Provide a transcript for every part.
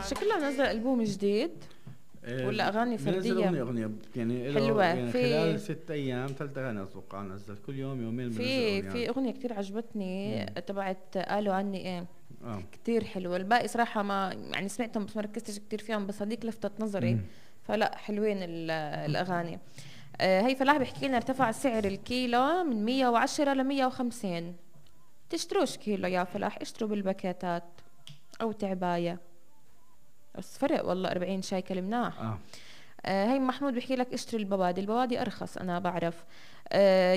شكلها منزل ألبوم جديد ولا أغاني فردية؟ أغنية يعني حلوة يعني في خلال 6 أيام 3 أغاني أتوقع نزل كل يوم يومين في أغنية كتير عجبتني تبعت قالوا عني إيه كتير حلوة. الباقي صراحة ما يعني سمعتهم بس ما ركزتش كتير فيهم، بس هذيك لفتت نظري فلا حلوين الأغاني. هي فلاح بيحكي لنا ارتفع سعر الكيلو من 110 ل 150. تشتروش كيلو يا فلاح، اشتروا بالباكيتات أو تعباية، بس فرق والله 40 شيكل مناح. هي محمود بيحكي لك اشتري البوادي أرخص أنا بعرف.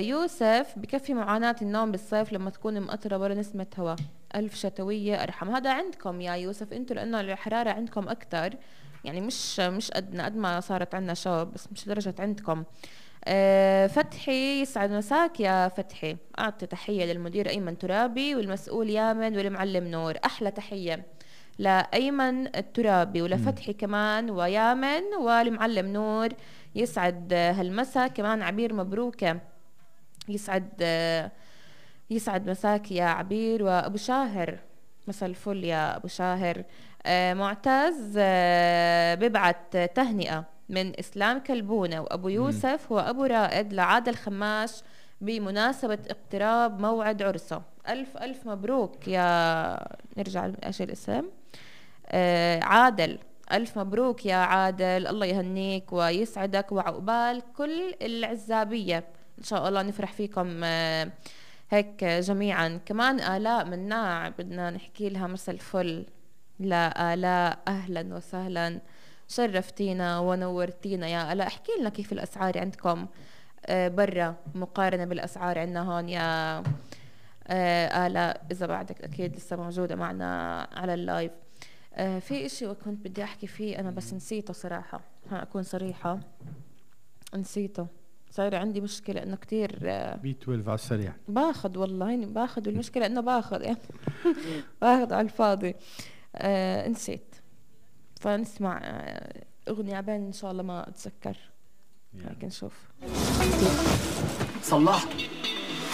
يوسف بكفي معاناة النوم بالصيف لما تكون مقطرة ولا نسمة هواء، ألف شتوية أرحم. هذا عندكم يا يوسف انتوا لأنه الحرارة عندكم أكتر، يعني مش قد ما صارت عنا شوب، بس مش درجة عندكم. فتحي يسعد مساك يا فتحي، أعطي تحية للمدير أيمن ترابي والمسؤول يامن والمعلم نور. أحلى تحية لأيمن الترابي ولفتحي كمان ويامن والمعلم نور. يسعد هالمسا كمان عبير مبروكة، يسعد مساك يا عبير وأبو شاهر، مساء الفل يا أبو شاهر. معتز ببعت تهنئة من إسلام كلبونة وأبو يوسف وأبو رائد لعادل خماش بمناسبة اقتراب موعد عرسه. ألف مبروك يا نرجع لإيش الاسم عادل، ألف مبروك يا عادل، الله يهنيك ويسعدك وعقبال كل العزابية إن شاء الله. نفرح فيكم هيك جميعا. كمان آلاء مناع بدنا نحكي لها مساء الفل. لا آلاء أهلا وسهلا، شرفتينا ونورتينا يا آلاء. احكي لنا كيف الأسعار عندكم برا مقارنة بالأسعار عندنا هون يا آلاء، إذا بعدك أكيد لسه موجودة معنا على اللايف. في إشي وكنت بدي أحكي فيه أنا بس نسيته صراحة، أكون صريحة نسيته. صاير عندي مشكلة إنه كتير بي 12 على السريع باخد، والله هيني باخد، والمشكلة إنه باخد يعني باخد على الفاضي. نسيت، فنسمع أغنية عبين إن شاء الله ما أتذكر. هيك نشوف. صلحت